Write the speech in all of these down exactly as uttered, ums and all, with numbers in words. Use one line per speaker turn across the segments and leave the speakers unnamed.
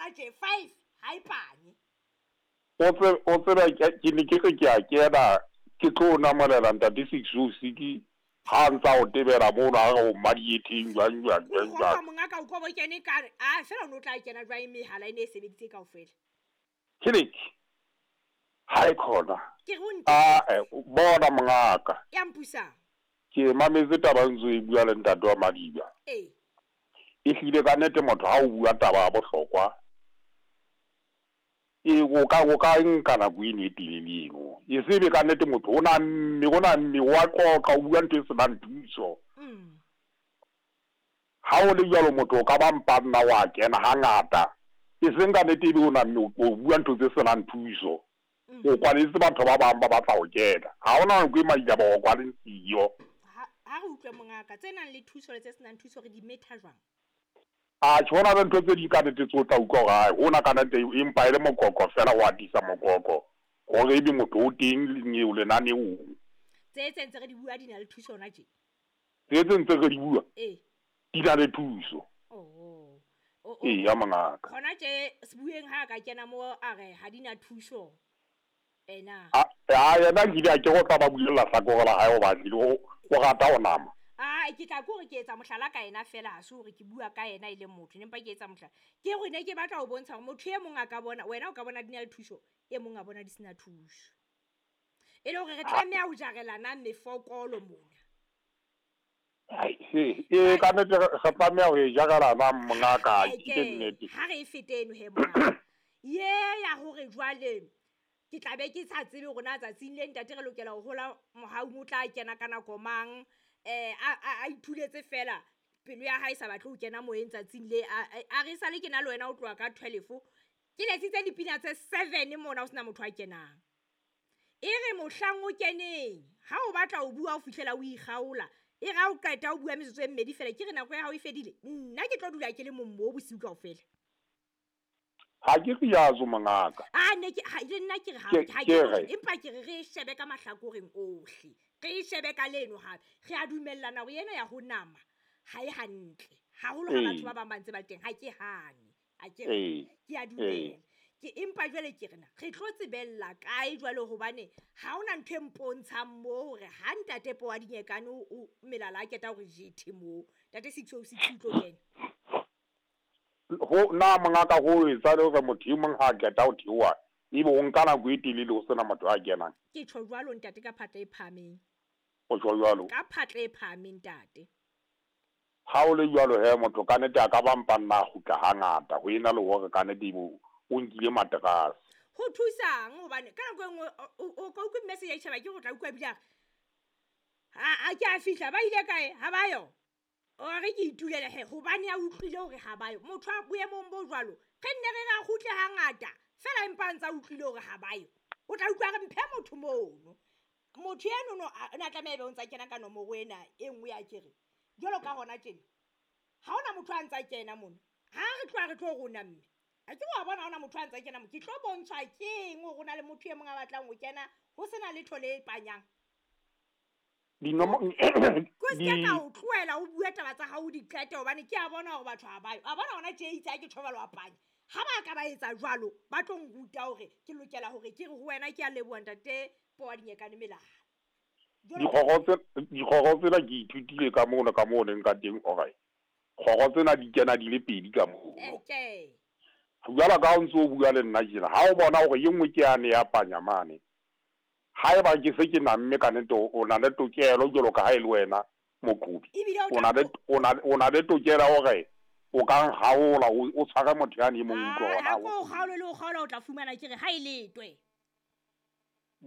hona tje five ha e panye.
O tse o tseba ke ne ke re ke a kena ke tlo namolela ntate six oh six ha ntsa o tebela mono ha re o madietheng jwang jwang jwang jwang.
Monga ka o kobo kene ka re a fela o no tla kena jwang mehala ene e sebeditse kaofela.
Ke ha e khona.
Ke re o nte.
A bona mongaka.
Ya mpusang.
Ke mametse taba ntse e bua le ntate wa Madiba.
Eh.
E hlile ka nnete motho ha o bua taba ya bohlokwa e o ka o ka nka nako eno e telele eno. E sebe ka nnete motho o na mme o na mme wa qoqa o bua ntho e senang thuso.
Mm.
Ha o le jwalo motho o ka ba mpa nna wa kena hangata. E seng ka nnete ebe o na mme o bua ntho tse senang thuso. O kwaletse batho ba bang ba batla ho kena. Ha hona nako e Madiba o kwaleng siyo.
Ha re utlwe mongaka tse nang le thuso le tse senang thuso re di metha jwang?
A tjho na ntho tse di ka nnete tse o tla utlwa hore hai hona ka nnete empa e le mokoko fela wa atisa mokoko hore ebe motho o teng eo lenaneong.
Tse tse ntse re di bua di na le thuso hona tje?
Tse tse ntse re di bua?
Eh.
Di na le thuso.
Oh. O
Ee ya mongaka.
Hona tje sebueng ha ka kena mo a re ha di na thuso. Ena.
A a yena nkile a ke go tla ba bulela hlakore la hae o batlile o o rata ho nama.
Ah ke tla ko re ke etsa mohlala ka yena fela ha se hore ke bua ka yena e le motho empa ke etsa mohlala. Ke re ne ke batla ho bontsha hore motho e mong a ka bona wena o ka bona di na le thuso e mong a bona di sena thuso. E le hore re tlameha ho jarelana mefokolo mona.
Ai e ka nnete re tlameha ho e jarelana mongaka ke nnete.
Ha re e fete eno he mongaka. Ye ya hore jwale ke tla be ke sa tsebe hore na tsatsing le ntate re lokela ho hola mohau o tla kena ka nako mang eh a a ithuletse fela pelo ya hae sa batle ho kena moyeng tsatsing le a re sale ke na le wena o tloha ka twelve ke letsitse dipina tse seven mona o sena motho a kenang. E re mohlang o keneng ha o batla ho bua o fihlela o ikgaola e ra o qeta o bua metsotso e mmedi fela ke re nako ya hao e fedile nna ke tlo dula ke le mong mo bosiu kaofela.
Ha ke riazo mongaka.
Ah ne ke ha le nna ke re ha ha ke empa ke re re shebe ka mahlakoreng ohle. Re shebe ka leno hape. Re a dumellana hore yena ya ho nama ha e hantle. Haholo ha batho ba bang ba ntse ba teng ha ke hane. Ha ke ke a dumela. Ke empa jwale ke rena re tlo tsebella kae jwale hobane ha hona ntho e mpontshang mo hore ha ntate Po wa Dinyekane o melala a keta hore jethe mo. Ntate six oh six o tlo kena.
Ho na mongaka ho etsa le hore motho e mong ha keta ho theoha ebe o nka nako e telele ho sena motho a kenang.
Ke tjho jwalo ntate ka phatla e phahameng.
O tjho jwalo?
Ka phatla e phahameng ntate.
Ha o le jwalo he motho ka nnete a ka ba mpa nna kgutla hangata ho ena le hore ka nnete ebe o nkile materase.
Ho thusang hobane ka nako e nngwe o ka utlwa message ya itjhaba ke go tla utlwa ebile a a ke a fihla ba ile kae ha ba yo. O re ke itulele he hobane a utlwile hore ha ba yo. Motho a boemong bo jwalo re nne re ra kgutle hangata fela empa ntsa utlwile hore ha ba yo. O tla utlwa re mphe motho mono. Motho eno no na tlameha ebe o ntsa kena ka nomoro ena e nngwe ya kere. Jwalo ka hona tjena. Ha hona motho a ntsa kena mono. Ha re tloha re tlo rona mme. A ke wa bona hona motho a ntsa kena mo. Ke tlo bontshwa keng hore na le motho e mong a batlang ho kena ho sena letho le panyang.
Dinomo
ko se ka o tlohela o bua taba tsa hao di qete hobane ke a bona hore batho ha ba yo. A bona hona tje itse ha ke thobalo a panya. Ha ba ka ba etsa jwalo ba tlo nruta hore ke lokela hore ke re ho wena ke a leboha ntate Po wa Dinyekane melala.
Dikgoro tse dikgoro tsena ke ithutile ka mona ka moo neng ka teng hore kgoro tsena di kena di le pedi ka moo.
Okay.
Jwalo ka ha o ntso o bua le nna tjena ha o bona hore e nngwe ke yane ya panya mane. Haeba ke se ke namme ka nnete o na le tokelo jwalo ka ha e le wena moqobi. O na le o na o na le tokelo hore o ka nkgaola o tshware motho yane e mong utlwe hona.
Ha ko kgaolo le o kgaola o tla fumana ke re ha e letwe.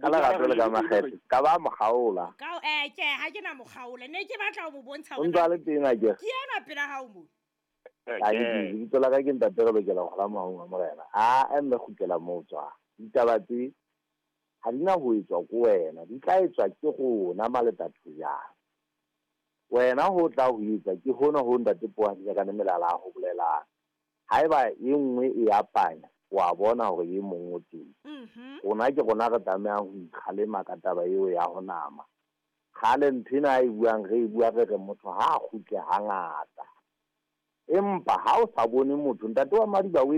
Ka lerato le ka makgethe ka ba mokgaola.
Ka eh ke ha ke na mokgaola ne ke batla ho mo bontsha
hore o ntse a le teng a ke.
Ke ena pela hao mo.
Ai lebitso la ka ke ntate re lokela ho hola mahong a morena. A mme kgutlela moo tswa. Ditaba tse ha di na ho etswa ko wena di tla etswa ke rona maletathojana. Wena ho tla ho etsa ke hona ho ntate Po wa Dinyekane melala a ho bolelang. Haeba e nngwe e a panya wa bona hore e mong o teng. Rona ke rona re tlamehang ho ikgalema ka taba eo ya ho nama. Kgale ntho ena a e buang re e bua re re motho ha a kgutle hangata. Empa ha o sa bone motho ntate wa Madiba o